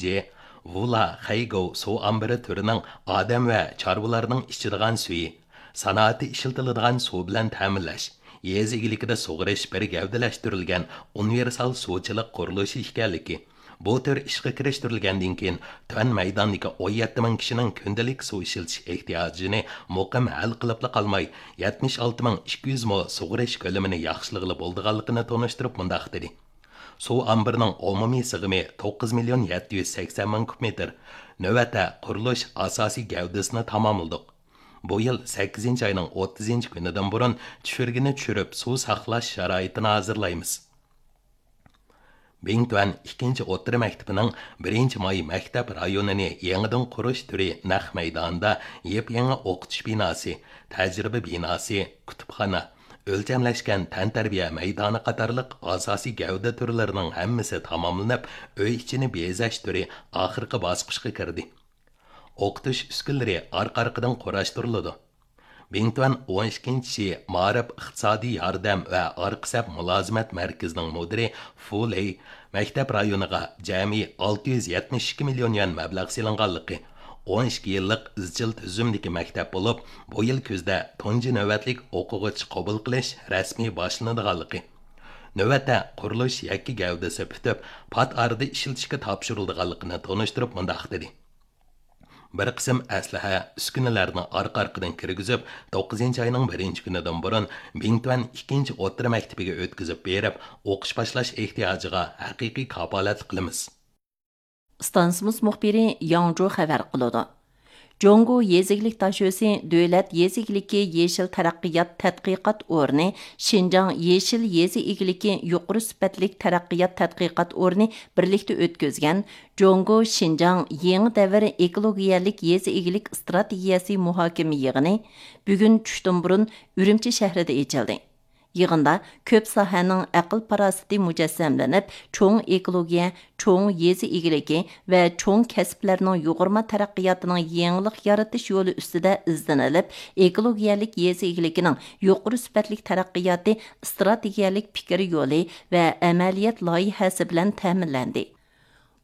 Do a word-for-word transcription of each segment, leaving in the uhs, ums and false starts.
جى ۋۇلا خەيگوۋ سۇ ئامبىرى تۈرىنىڭ ئادەم ۋە چارۋىلارنىڭ ئىچىدىغان سۈيى، سانائەتتە ئىشلىتىلىدىغان سۇ بىلەن تەمىنلەش، يېزا ئىگىلىكىدە سۇغىرىش بىر گەۋدىلەشتۈرۈلگەن ئۇنىۋېرسال سۇچىلىق قۇرۇلۇشى ئىكەنلىكى، بۇ تۈر ئىشقا كىرىشتۈرۈلگەندىن كېيىن، تۆۋەن مەيداندىكى ئون يەتتە مىڭ كىشىنىڭ كۈندىلىك سۇ ئىشلىتىش ئېھتىياجىنى مۇقىم ھەل قىلىپلا قالماي، يەتمىش ئالتە مىڭ ئىككى يۈز مو سۇغىرىش كۆلىمىنى ياخشىلىغىلى بولىدىغانلىقىنى تونۇشتۇرۇپ مۇنداق دېدى: سۇ ئامبىرىنىڭ ئومۇمىي سىغىمى توققۇز مىليون يەتتە يۈز سەكسەن مىڭ كۇب مېتىر. نۆۋەتتە قۇرۇلۇش ئاساسىي گەۋدىسىنى تاماملىدۇق. بۇ يىل سەككىزىنچى ئاينىڭ ئوتتۇزىنچى كۈنىدىن بۇرۇن چۈشۈرگىنى چۈشۈرۈپ، سۇ ساقلاش شارائىتىنى ھازىرلايمىز. بىڭتۈەن ئىككىنچى ئوتتۇرا مەكتىپىنىڭ بىرىنچى ماي مەكتەپ رايونىنى يېڭىدىن قۇرۇش تۈرى نەق مەيدانىدا يېپيېڭى ئوقۇتۇش بىناسى، تەجرىبە بىناسى، كۇتۇپخانا، ئۆلچەملەشكەن تەنتەربىيە مەيدانى قاتارلىق ئاساسىي گەۋدە تۈرلىرىنىڭ ھەممىسى تاماملىنىپ، ئۆي ئىچىنى بېزەش تۈرى ئاخىرقى باسقۇچقا كىردى. ئوقۇتۇش ئۈسكۈنىلىرى ئارقا-ئارقىدىن قۇراشتۇرۇلىدۇ. بىڭتۈەن ئون ئىككىنچى شى مائارىپ ئىقتىسادىي ياردەم ۋە ئارقا سەپ مۇلازىمەت مەركىزىنىڭ مۇدىرى فۇ لېي مەكتەپ رايونىغا جەمئىي ئالتە يۈز يەتمىش ئىككى مىليون يۈەن مەبلەغ سېلىنغانلىقى، ئون ئىككى يىللىق ئىزچىل تۈزۈمدىكى مەكتەپ بولۇپ، بۇ يىل كۈزدە تۇنجى نۆۋەتلىك ئوقۇغۇچى قوبۇل قىلىش رەسمىي باشلىنىدىغانلىقى، نۆۋەتتە قۇرۇلۇش يەككە گەۋدىسى پۈتۈپ، پات ئارىدا ئىشلىتىشكە تاپشۇرۇلىدىغانلىقىنى تونۇشتۇرۇپ مۇنداق دېدى: بىر قىسىم ئەسلىھە، ئۈسكۈنىلەرنى ئارقا-ئارقىدىن كىرگۈزۈپ، توققۇزىنچى ئاينىڭ بىرىنچى كۈنىدىن بۇرۇن بىڭتۈەن ئىككىنچى ئوتتۇرا مەكتىپىگە ئۆتكۈزۈپ بېرىپ، ئوقۇش باشلاش ئېھتىياجىغا ھەقىقىي كاپالەتلىك قىلىمىز. ئىستانسىمىز مۇخبىرى ياڭ جۇ خەۋەر قىلىدۇ. جۇڭگو يېزا ئىگىلىك داشۆسى دۆلەت يېزا ئىگىلىكى يېشىل تەرەققىيات تەتقىقات ئورنى، شىنجاڭ يېشىل يېزا ئىگىلىكى يۇقىرى سۈپەتلىك تەرەققىيات تەتقىقات ئورنى بىرلىكتە ئۆتكۈزگەن جۇڭگو شىنجاڭ يېڭى دەۋر ئېكولوگىيەلىك يېزا ئىگىلىك ئىستراتېگىيەسى مۇھاكىمە يىغىنى بۈگۈن چۈشتىن بۇرۇن ئۈرۈمچى شەھىرىدە ئېچىلدى. يىغىندا كۆپ ساھەنىڭ ئەقىل-پاراسىتى مۇجەسسەملىنىپ، چوڭ ئېكولوگىيە، چوڭ يېزا ئىگىلىكى ۋە چوڭ كەسىپلەرنىڭ يۇغۇرما تەرەققىياتىنىڭ يېڭىلىق يارىتىش يولى ئۈستىدە ئىزدىنىلىپ، ئېكولوگىيەلىك يېزا ئىگىلىكىنىڭ يۇقىرى سۈپەتلىك تەرەققىياتى ئىستراتېگىيەلىك پىكىر يولى ۋە ئەمەلىيەت لايىھەسى بىلەن تەمىنلەندى.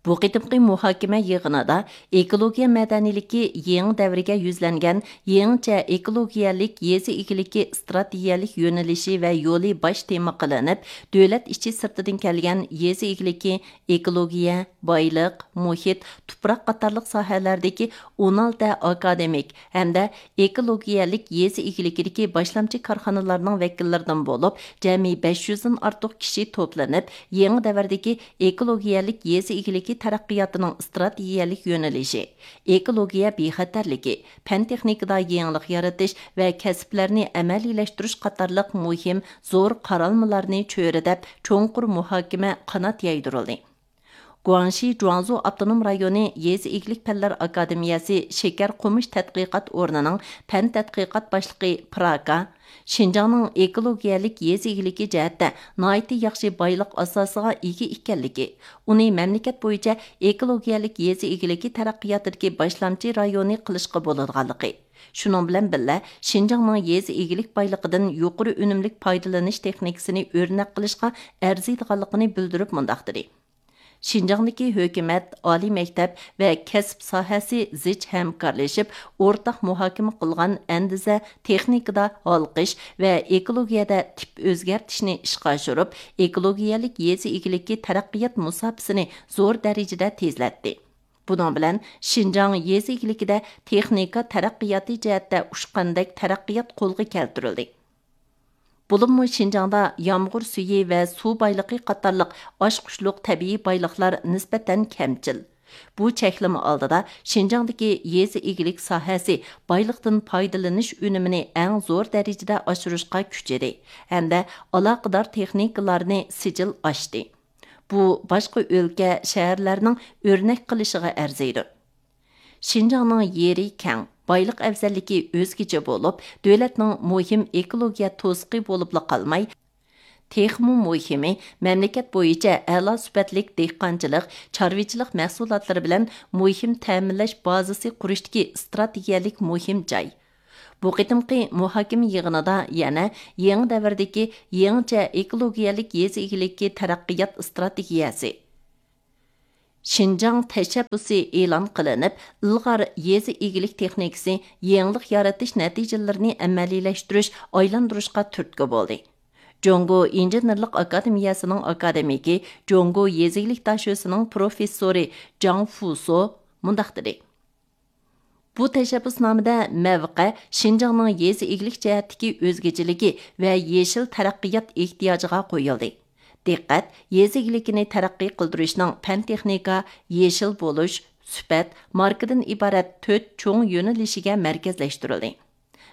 بۇ قېتىمقى مۇھاكىمە يىغىنىدا ئېكولوگىيە مەدەنىيلىكى يېڭى دەۋرگە يۈزلەنگەن يېڭىچە ئېكولوگىيەلىك يېزا ئىگىلىكى ئىستراتېگىيەلىك يۆنىلىشى ۋە يولى باش تېما قىلىنىپ، دۆلەت ئىچى سىرتىدىن كەلگەن يېزا ئىگىلىكى، ئېكولوگىيە، بايلىق، مۇھىت، تۇپراق قاتارلىق ساھەلەردىكى ئون ئالتە ئاكادېمىك ھەمدە ئېكولوگىيەلىك يېزا ئىگىلىكىدىكى باشلامچى كارخانىلاردىن بولۇپ، جەمئىي بەش يۈزدىن ئارتۇق كىشى توپلىنىپ، يېڭى دەۋردىكى ئېكولوگىيەلىك يېزا ئىگىلىكى تەرەققىياتىنىڭ ئىستراتېگىيەلىك يۆنىلىشى، ئېكولوگىيە بىخەتەرلىكى، پەن-تېخنىكىدا يېڭىلىق يارىتىش ۋە كەسىپلەرنى ئەمەلىيلەشتۈرۈش قاتارلىق مۇھىم زور قارالمىلارنى چۆرىدەپ، چوڭقۇر مۇھاكىمە قانات يايدۇرۇلدى. گۇاڭشى جۇاڭزۇ ئاپتونوم رايونى يېزا ئىگىلىك پەنلەر ئاكادېمىيەسى شېكەر قومۇش تەتقىقات ئورنىنىڭ پەن تەتقىقات باشلىقى پراكا شىنجاڭنىڭ ئېكولوگىيەلىك يېزا ئىگىلىكى جەھەتتە ناھايىتى ياخشى بايلىق ئاساسىغا ئىگە ئىكەنلىكى، ئۇنى مەملىكەت بويىچە ئېكولوگىيەلىك يېزا ئىگىلىكى تەرەققىياتىدىكى باشلامچى رايونى قىلىشقا بولىدىغانلىقى، شۇنىڭ بىلەن بىللە، شىنجاڭنىڭ يېزا ئىگىلىك بايلىقىدىن يۇقىرى ئۈنۈملۈك پايدىلىنىش تېخنىكىسىنى ئۆرنەك قىلىشقا ئەرزىيدىغانلىقىنى بىلدۈرۈپ مۇنداق دېدى: شىنجاڭدىكى ھۆكۈمەت، ئالىي مەكتەپ ۋە كەسىپ ساھەسى زىچ ھەمكارلىشىپ، ئورتاق مۇھاكىمە قىلغان ئەندىزە، تېخنىكىدا ھالقىش ۋە ئېكولوگىيەدە تىپ ئۆزگەرتىشنى ئىشقا ئاشۇرۇپ، ئېكولوگىيەلىك يېزا ئىگىلىكى تەرەققىيات مۇساپىسىنى زور دەرىجىدە تېزلەتتى. بۇنىڭ بىلەن شىنجاڭ يېزا ئىگىلىكىدە تېخنىكا تەرەققىياتى جەھەتتە ئۇچقاندەك تەرەققىيات قولغا كەلتۈرۈلدى. بولۇپمۇ شىنجاڭدا يامغۇر سۈيى ۋە سۇ بايلىقى قاتارلىق ئاچقۇچلۇق تەبىئىي بايلىقلار نىسبەتەن كەمچىل. بۇ چەكلىمە ئالدىدا شىنجاڭدىكى يېزا ئىگىلىك ساھەسى بايلىقتىن پايدىلىنىش ئۈنۈمىنى ئەڭ زور دەرىجىدە ئاشۇرۇشقا كۈچىدى ھەمدە ئالاقىدار تېخنىكىلارنى سىجىل ئاشتى. بۇ باشقا ئۆلكە، شەھەرلەرنىڭ ئۆرنەك قىلىشىغا ئەرزىيدۇ. شىنجاڭنىڭ يېرى كەڭ، بايلىق ئەۋزەللىكى ئۆزگىچە بولۇپ، دۆلەتنىڭ مۇھىم ئېكولوگىيە توسۇقى بولۇپلا قالماي، تېخىمۇ مۇھىمى، مەملىكەت بويىچە ئەلا سۈپەتلىك دېھقانچىلىق، چارۋىچىلىق مەھسۇلاتلىرى بىلەن مۇھىم تەمىنلەش بازىسى قۇرۇشتىكى ئىستراتېگىيەلىك مۇھىم جاي. بۇ قېتىمقى مۇھاكىمە يىغىنىدا يەنە يېڭى دەۋردىكى يېڭىچە ئېكولوگىيەلىك يېزا ئىگىلىكى تەرەققىيات ئىستراتېگىيەسى، شىنجاڭ تەشەببۇسى ئېلان قىلىنىپ، ئىلغار يېزا ئىگىلىك تېخنىكىسى يېڭىلىق يارىتىش نەتىجىلىرىنى ئەمەلىيلەشتۈرۈش، ئايلاندۇرۇشقا تۈرتكە بولدى. جۇڭگو ئىنژېنېرلىق ئاكادېمىيەسىنىڭ ئاكادېمىكى، جۇڭگو يېزا ئىگىلىك داشۆسىنىڭ پروفېسسورى جاڭ فۇسو مۇنداق دېدى: بۇ تەشەببۇسنامىدە مەۋقە شىنجاڭنىڭ يېزا ئىگىلىك جەھەتتىكى ئۆزگىچىلىكى ۋە يېشىل تەرەققىيات ئېھتىياجىغا قويۇلدى. دىققەت يېزا ئىگىلىكىنى تەرەققىي قىلدۇرۇشنىڭ پەن تېخنىكا، يېشىل بولۇش، سۈپەت، ماركىدىن ئىبارەت تۆت چوڭ يۆنىلىشىگە مەركەزلەشتۈرۈلدى.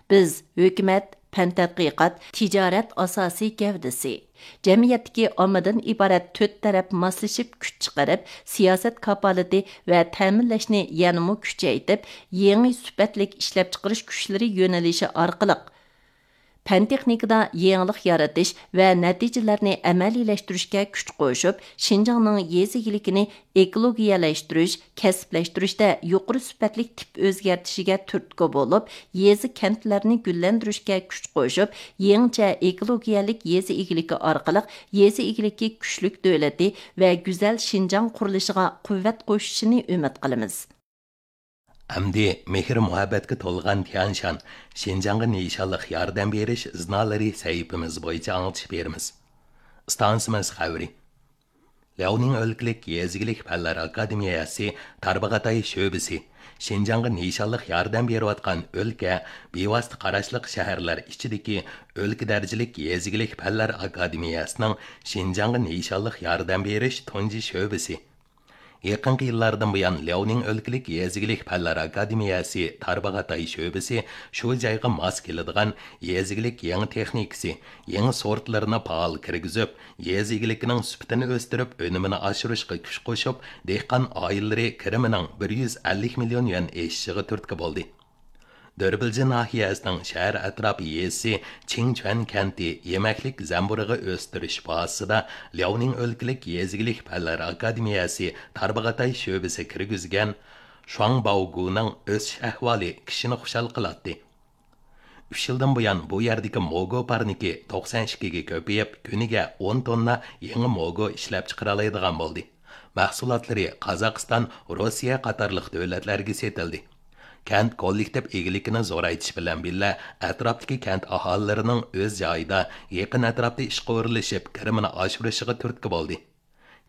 بىز ھۆكۈمەت، پەن تەتقىقات، تىجارەت ئاساسىي گەۋدىسى، جەمئىيەتتىكى ئاممىدىن ئىبارەت تۆت تەرەپ ماسلىشىپ كۈچ چىقىرىپ، سىياسەت كاپالىتى ۋە تەمىنلەشنى يەنىمۇ كۈچەيتىپ، يېڭى سۈپەتلىك ئىشلەپچىقىرىش كۈچلىرى يۆنىلىشى ئارقىلىق، پەن تېخنىكىدا يېڭىلىق يارىتىش ۋە نەتىجىلەرنى ئەمەلىيلەشتۈرۈشكە كۈچ قوشۇپ، شىنجاڭنىڭ يېزا ئىگىلىكىنى ئېكولوگىيەلەشتۈرۈش، كەسىپلەشتۈرۈشتە يۇقىرى سۈپەتلىك تىپ ئۆزگەرتىشىگە تۈرتكە بولۇپ، يېزا، كەنتلەرنى گۈللەندۈرۈشكە كۈچ قوشۇپ، يېڭىچە ئېكولوگىيەلىك يېزا ئىگىلىكى ئارقىلىق يېزا ئىگىلىكى كۈچلۈك دۆلىتى ۋە گۈزەل شىنجاڭ قۇرۇلۇشىغا قۇۋۋەت قوشۇشىنى ئۈمىد قىلىمىز. ئەمدى مېھىر مۇھەببەتكە تولغان تيەنشان شىنجاڭغا نىشانلىق ياردەم بېرىش ئىزنالىرى سەھىپىمىز بويىچە ئاڭلىتىش بېرىمىز. ئىستانسىمىز خەۋىرى. لياۋنىڭ ئۆلكىلىك يېزا ئىگىلىك پەنلەر ئاكادېمىيەسى تارباغاتاي شۆبىسى شىنجاڭغا نىشانلىق ياردەم بېرىۋاتقان ئۆلكە، بىۋاسىتە قاراشلىق شەھەرلەر ئىچىدىكى ئۆلكە دەرىجىلىك يېزا ئىگىلىك پەنلەر ئاكادېمىيەسىنىڭ شىنجاڭغا نىشانلىق ياردەم بېرىش تۇنجى شۆبىسى. يېقىنقى يىللاردىن بۇيان، لياۋنىڭ ئۆلكىلىك يېزا ئىگىلىك پەنلەر ئاكادېمىيەسى تارباغاتاي شۆبىسى شۇ جايغا ماس كېلىدىغان يېزا ئىگىلىك يېڭى تېخنىكىسى، يېڭى سورتلىرىنى پائال كىرگۈزۈپ، يېزا ئىگىلىكىنىڭ سۈپىتىنى ئۆستۈرۈپ، ئۈنۈمىنى ئاشۇرۇشقا كۈچ قوشۇپ، دېھقان ئائىلىلىرى كىرىمىنىڭ بىر يۈز ئەللىك مىليون يۈەن ئېشىشىغا تۈرتكە بولدى. دۆربىلجى ناھىيەسىنىڭ شەھەر ئەتراپى يېزىسى چىڭچۈەن كەنتى يېمەكلىك زەمبۇرۇغى ئۆستۈرۈش بازىسىدا لياۋنىڭ ئۆلكىلىك يېزا ئىگىلىك پەنلەر ئاكادېمىيەسى تارباغاتاي شۆبىسى كىرگۈزگەن شۇاڭباۋگۇنىڭ ئۆسۈش ئەھۋالى كىشىنى خۇشال قىلاتتى. ئۈچ يىلدىن بۇيان بۇ يەردىكى موگو پارنىكى توقسان ئىككىگە كۆپىيىپ، كۈنىگە ئون توننا يېڭى موگو ئىشلەپچىقىرالايدىغان بولدى. مەھسۇلاتلىرى قازاقىستان، روسىيە قاتارلىق دۆلەتلەرگە سېتىلدى. كەنت كوللېكتىپ ئىگىلىكىنى زورايتىش بىلەن بىللە، ئەتراپتىكى كەنت ئاھالىلىرىنىڭ ئۆز جايىدا، يېقىن ئەتراپتا ئىشقا ئورۇنلىشىپ، كىرىمىنى ئاشۇرۇشىغا تۈرتكە بولدى.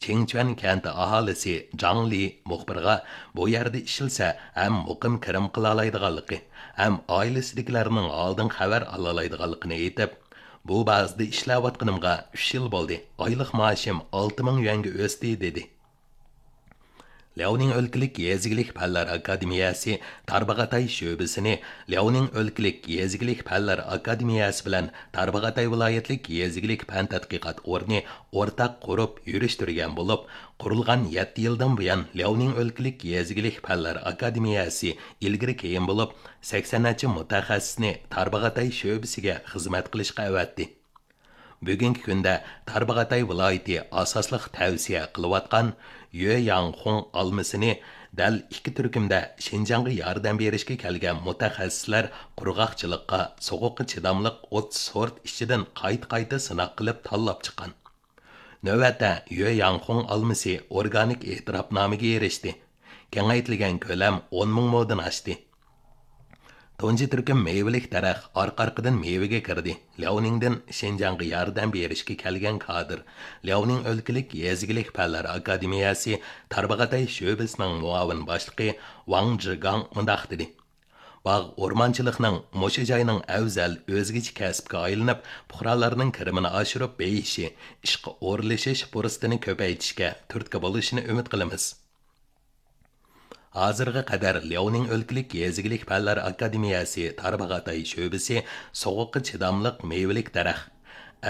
چىڭچۈەن كەنتى ئاھالىسى جاڭ لى مۇخبىرغا بۇ يەردە ئىشلىسە ھەم مۇقىم كىرىم قىلالايدىغانلىقى، ھەم ئائىلىسىدىكىلەرنىڭ ھالىدىن خەۋەر ئالالايدىغانلىقىنى ئېيتىپ، بۇ بازىدا ئىشلەۋاتقىنىمغا ئۈچ يىل بولدى، ئايلىق مائاشىم ئالتە مىڭ يۈەنگە ئۆستى، دېدى. لياۋنىڭ ئۆلكىلىك يېزا ئىگىلىك پەنلەر ئاكادېمىيەسى تارباغاتاي شۆبىسىنى لياۋنىڭ ئۆلكىلىك يېزا ئىگىلىك پەنلەر ئاكادېمىيەسى بىلەن تارباغاتاي ۋىلايەتلىك يېزا ئىگىلىك پەن تەتقىقات ئورنى ئورتاق قۇرۇپ يۈرۈشتۈرگەن بولۇپ، قۇرۇلغان يەتتە يىلدىن بۇيان، لياۋنىڭ ئۆلكىلىك يېزا ئىگىلىك پەنلەر ئاكادېمىيەسى ئىلگىرى كېيىن بولۇپ، سەكسەن نەچچە مۇتەخەسسىسنى تارباغاتاي شۆبىسىگە خىزمەت قىلىشقا ئەۋەتتى. بۈگۈنكى كۈندە تارباغاتاي ۋىلايىتى ئاساسلىق تەۋسىيە قىلىۋاتقان يۆ ياڭخۇڭ ئالمىسىنى دەل ئىككى تۈركۈمدە شىنجاڭغا ياردەم بېرىشكە كەلگەن مۇتەخەسسىسلەر قۇرغاقچىلىققا، سوغۇققا چىداملىق ئوتتۇز سورت ئىچىدىن قايتا-قايتا سىناق قىلىپ تاللاپ چىققان. نۆۋەتتە يۆ ياڭخۇڭ ئالمىسى ئورگانىك ئېتىراپنامىگە ئېرىشتى. كېڭەيتىلگەن كۆلەم ئون مىڭ مودىن ئاشتى. تۇنجى تۈركۈم مېۋىلىك دەرەخ ئارقا-ئارقىدىن مېۋىگە كىردى. لياۋنىڭدىن شىنجاڭغا ياردەم بېرىشكە كەلگەن كادىر، لياۋنىڭ ئۆلكىلىك يېزا ئىگىلىك پەنلەر ئاكادېمىيەسى تارباغاتاي شۆبىسىنىڭ مۇئاۋىن باشلىقى ۋاڭ جىگاڭ مۇنداق دېدى: باغ ئورمانچىلىقنىڭ مۇشۇ جاينىڭ ئەۋزەل ئۆزگىچە كەسىپكە ئايلىنىپ، پۇقرالارنىڭ كىرىمىنى ئاشۇرۇپ بېيىشى، ئىشقا ئورۇنلىشىش پۇرسىتىنى كۆپەيتىشكە تۈرتكە بولۇشىنى ئۈمىد قىلىمىز. ھازىرغا قەدەر لياۋنىڭ ئۆلكىلىك يېزا ئىگىلىك پەنلەر ئاكادېمىيەسى تارباغاتاي شۆبىسى سوغۇققا چىداملىق مېۋىلىك دەرەخ،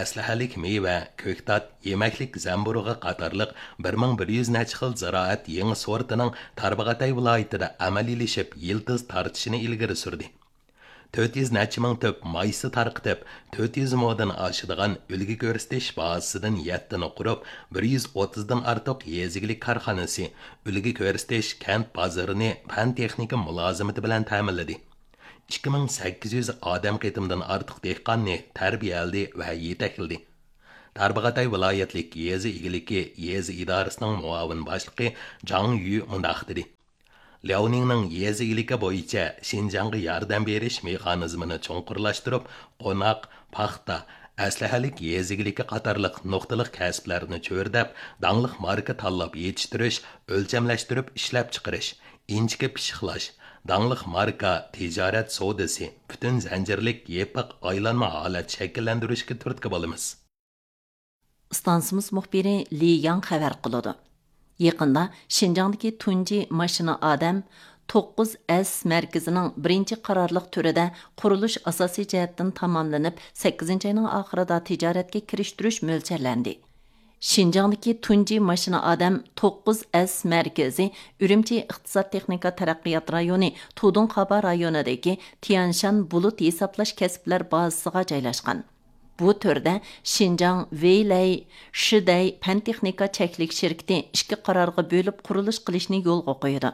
ئەسلىھەلىك مېۋە، كۆكتات، يېمەكلىك زەمبۇرۇغى قاتارلىق بىر مىڭ بىر يۈز نەچچە خىل زىرائەت يېڭى سورتىنىڭ تارباغاتاي ۋىلايىتىدە ئەمەلىيلىشىپ يىلتىز تارتىشىنى ئىلگىرى سۈردى. تۆت يۈز نەچچە مىڭ تۈپ مايسا تارقىتىپ، تۆت يۈز مودىن ئاشىدىغان ئۈلگە كۆرسىتىش بازىسىدىن يەتتىنى قۇرۇپ، بىر يۈز ئوتتۇزدىن ئارتۇق يېزا ئىگىلىك كارخانىسى، ئۈلگە كۆرسىتىش كەنت بازىرىنى پەن-تېخنىكا مۇلازىمىتى بىلەن تەمىنلىدى. ئىككى مىڭ سەككىز يۈز ئادەم قېتىمدىن ئارتۇق دېھقاننى تەربىيەلىدى ۋە يېتەكلىدى. تارباغاتاي ۋىلايەتلىك يېزا ئىگىلىكى يېزا ئىدارىسىنىڭ مۇئاۋىن باشلىقى جاڭ يۈ مۇنداق دېدى: لياۋنىڭنىڭ يېزا ئىگىلىكى بويىچە شىنجاڭغا ياردەم بېرىش مېخانىزمىنى چوڭقۇرلاشتۇرۇپ، قوناق، پاختا، ئەسلىھەلىك يېزا ئىگىلىكى قاتارلىق نۇقتىلىق كەسىپلەرنى چۆرىدەپ، داڭلىق ماركا تاللاپ يېتىشتۈرۈش، ئۆلچەملەشتۈرۈپ ئىشلەپچىقىرىش، ئىنچىكە پىششىقلاش، داڭلىق ماركا تىجارەت سودىسى، پۈتۈن زەنجىرلىك يېپىق ئايلانما ھالەت شەكىللەندۈرۈشكە تۈرتكە بولىمىز. ئىستانسىمىز مۇخبىرى لى ياڭ خەۋەر قىلىدۇ. يېقىندا شىنجاڭدىكى تۇنجى ماشىنا ئادەم توققۇز ئەس مەركىزىنىڭ بىرىنچى قارارلىق تۈرىدە قۇرۇلۇش ئاساسىي جەھەتتىن تاماملىنىپ، سەككىزىنچى ئاينىڭ ئاخىرىدا تىجارەتكە كىرىشتۈرۈش مۆلچەرلەندى. شىنجاڭدىكى تۇنجى ماشىنا ئادەم توققۇز ئەس مەركىزى ئۈرۈمچى ئىقتىساد تېخنىكا تەرەققىيات رايونى تۇدۇڭخابا رايونىدىكى تيەنشان بۇلۇت ھېسابلاش كەسىپلەر بازىسىغا جايلاشقان. بۇ تۈردە شىنجاڭ ۋېيلەي شىدەي پەن تېخنىكا چەكلىك شىركىتى ئىككى قارارغا بۆلۈپ قۇرۇلۇش قىلىشنى يولغا قويىدۇ.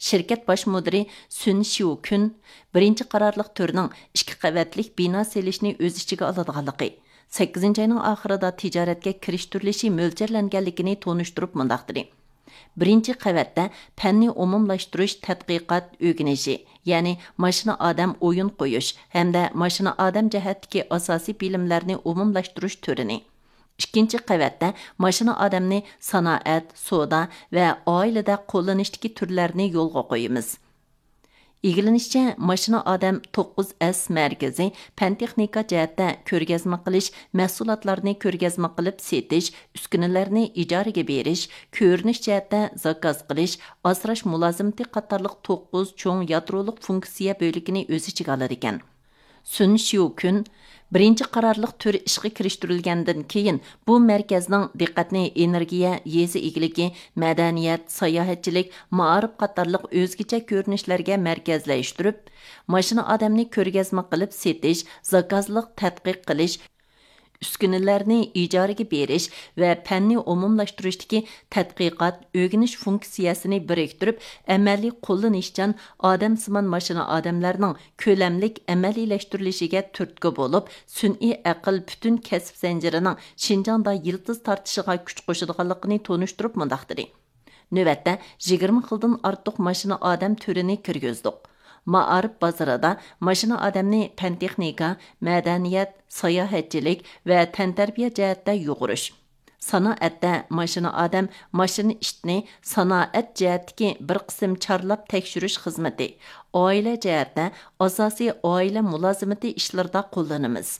شىركەت باش مۇدىرى سۈن شيۇكۈن بىرىنچى قارارلىق تۈرنىڭ ئىككى قەۋەتلىك بىنا سېلىشنى ئۆز ئىچىگە ئالىدىغانلىقى، سەككىزىنچى ئاينىڭ ئاخىرىدا تىجارەتكە كىرىشتۈرۈلۈشى مۆلچەرلەنگەنلىكىنى تونۇشتۇرۇپ مۇنداق دېدى: بىرىنچى قەۋەتتە پەننى ئومۇملاشتۇرۇش تەتقىقات ئۆگىنىشى، يەنى ماشىنا ئادەم ئويۇن قويۇش ھەمدە ماشىنا ئادەم جەھەتتىكى ئاساسىي بىلىملەرنى ئومۇملاشتۇرۇش تۈرىنى، ئىككىنچى قەۋەتتە ماشىنا ئادەمنى سانائەت، سودا ۋە ئائىلىدە قوللىنىشتىكى تۈرلەرنى يولغا قويىمىز. ئىگىلىنىشىچە، ماشىنا ئادەم توققۇز ئەس مەركىزى پەن تېخنىكا جەھەتتە كۆرگەزمە قىلىش، مەھسۇلاتلارنى كۆرگەزمە قىلىپ سېتىش، ئۈسكۈنىلەرنى ئىجارىگە بېرىش، كۆرۈنۈش جەھەتتە زاكاز قىلىش، ئاسراش مۇلازىمىتى قاتارلىق توققۇز چوڭ يادرولۇق فۇنكسىيە بۆلىكىنى ئۆز ئىچىگە ئالىدىكەن. سۈن شيۇكۈن بىرىنچى قارارلىق تۈر ئىشقا كىرىشتۈرۈلگەندىن كېيىن، بۇ مەركەزنىڭ دىققەتنى ئېنېرگىيە، يېزا ئىگىلىكى، مەدەنىيەت، ساياھەتچىلىك، مائارىپ قاتارلىق ئۆزگىچە كۆرۈنۈشلەرگە مەركەزلەشتۈرۈپ، ماشىنا ئادەمنى كۆرگەزمە قىلىپ سېتىش، زاكازلىق تەتقىق قىلىش، ئۈسكۈنىلەرنى ئىجارىگە بېرىش ۋە پەننى ئومۇملاشتۇرۇشتىكى تەتقىقات، ئۆگىنىش فۇنكسىيەسىنى بىرىكتۈرۈپ، ئەمەلىي قوللىنىشچان ئادەمسىمان ماشىنا ئادەملەرنىڭ كۆلەملىك ئەمەلىيلەشتۈرۈلۈشىگە تۈرتكە بولۇپ، سۈنئىي ئەقىل پۈتۈن كەسىپ زەنجىرىنىڭ شىنجاڭدا يىلتىز تارتىشىغا كۈچ قوشىدىغانلىقىنى تونۇشتۇرۇپ مۇنداق دېدى: نۆۋەتتە يىگىرمە خىلدىن ئارتۇق ماشىنا ئادەم تۈرىنى كىرگۈزدۇق. مائارىپ بازىرىدا ماشىنا ئادەمنى پەن تېخنىكا، مەدەنىيەت، ساياھەتچىلىك ۋە تەنتەربىيە جەھەتتە يۇغۇرۇش، سانائەتتە ماشىنا ئادەم، ماشىنا ئىتنى سانائەت جەھەتتىكى بىر قىسىم چارلاپ تەكشۈرۈش خىزمىتى، ئائىلە جەھەتتە ئاساسىي ئائىلە مۇلازىمىتى ئىشلىرىدا قوللىنىمىز.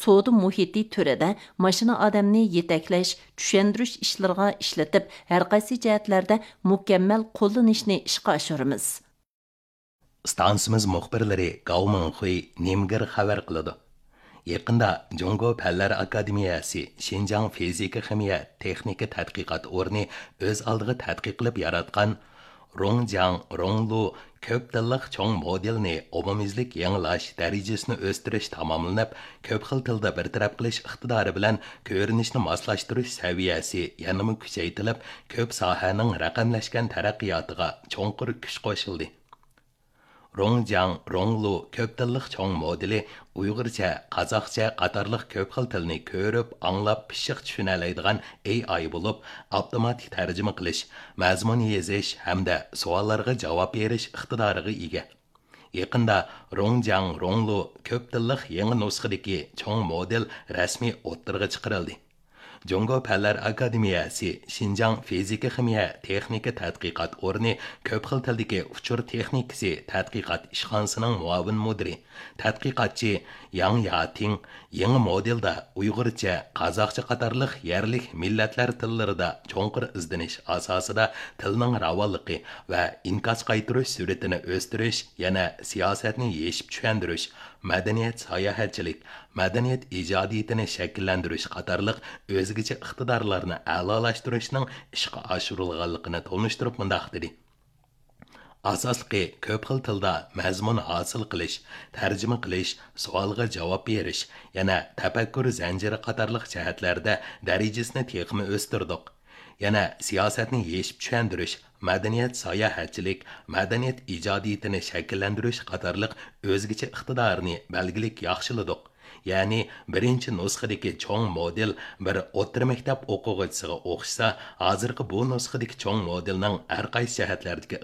سودا مۇھىتى تۈرىدە ماشىنا ئادەمنى يېتەكلەش، چۈشەندۈرۈش ئىشلىرىغا ئىشلىتىپ، ھەرقايسى جەھەتلەردە مۇكەممەل قوللىنىشنى ئىشقا ئاشۇرىمىز. ئىستانسىمىز مۇخبىرلىرى گاۋ مىڭخۇي، نىمگېر خەۋەر قىلىدۇ. يېقىندا جۇڭگو پەنلەر ئاكادېمىيەسى شىنجاڭ فىزىكا خىمىيە تېخنىكا تەتقىقات ئورنى ئۆز ئالدىغا تەتقىق قىلىپ ياراتقان رۇڭجياڭ رۇڭلۇ كۆپ تىللىق چوڭ مودېلنى ئومۇميۈزلۈك يېڭىلاش دەرىجىسىنى ئۆستۈرۈش تاماملىنىپ، كۆپ خىل تىلدا بىر تەرەپ قىلىش ئىقتىدارى بىلەن كۆرۈنۈشنى ماسلاشتۇرۇش سەۋىيەسى يەنىمۇ كۈچەيتىلىپ، كۆپ ساھەنىڭ رەقەملەشكەن تەرەققىياتىغا چوڭقۇر كۈچ قوشۇلدى. رۇڭجياڭ رۇڭلۇ كۆپ تىللىق چوڭ مودېلى ئۇيغۇرچە، قازاقچە قاتارلىق كۆپ خىل تىلنى كۆرۈپ، ئاڭلاپ، پىششىق چۈشىنەلەيدىغان ئېي ئاي بولۇپ، ئاپتوماتىك تەرجىمە قىلىش، مەزمۇن يېزىش ھەمدە سوئاللارغا جاۋاب بېرىش ئىقتىدارىغا ئىگە. يېقىندا رۇڭجياڭ رۇڭلۇ كۆپ تىللىق يېڭى نۇسخىدىكى چوڭ مودېل رەسمىي ئوتتۇرىغا چىقىرىلدى. جۇڭگو پەنلەر ئاكادېمىيەسى شىنجاڭ فىزىكا خىمىيە تېخنىكا تەتقىقات ئورنى كۆپ خىل تىلدىكى ئۇچۇر تېخنىكىسى تەتقىقات ئىشخانىسىنىڭ مۇئاۋىن مۇدىرى، تەتقىقاتچى ياڭ ياتىڭ يېڭى مودېلدا ئۇيغۇرچە، قازاقچە قاتارلىق يەرلىك مىللەتلەر تىللىرىدا چوڭقۇر ئىزدىنىش ئاساسىدا تىلنىڭ راۋانلىقى ۋە ئىنكاس قايتۇرۇش سۈرئىتىنى ئۆستۈرۈش، يەنە سىياسەتنى يېشىپ چۈشەندۈرۈش، مەدەنىيەت ساياھەتچىلىك، مەدەنىيەت ئىجادىيىتىنى شەكىللەندۈرۈش قاتارلىق ئۆزگىچە ئىقتىدارلارنى ئەلالاشتۇرۇشنىڭ ئىشقا ئاشۇرۇلغانلىقىنى تونۇشتۇرۇپ مۇنداق دېدى: ئاساسلىقى كۆپ خىل تىلدا مەزمۇن ھاسىل قىلىش، تەرجىمە قىلىش، سوئالغا جاۋاب بېرىش، يەنە تەپەككۇر زەنجىرى قاتارلىق جەھەتلەردە دەرىجىسىنى تېخىمۇ ئۆستۈردۇق. يەنە سىياسەتنى يېشىپ چۈشەندۈرۈش، مەدەنىيەت ساياھەتچىلىك، مەدەنىيەت ئىجادىيىتىنى شەكىللەندۈرۈش قاتارلىق ئۆزگىچە ئىقتىدارنى بەلگىلىك ياخشىلىدۇق. يەنى بىرىنچى نۇسخىدىكى چوڭ مودېل بىر ئوتتۇرا مەكتەپ ئوقۇغۇچىسىغا ئوخشىسا، ھازىرقى بۇ نۇسخىدىكى چوڭ مودېلنىڭ ھەر قايسى جەھەتلەردىكى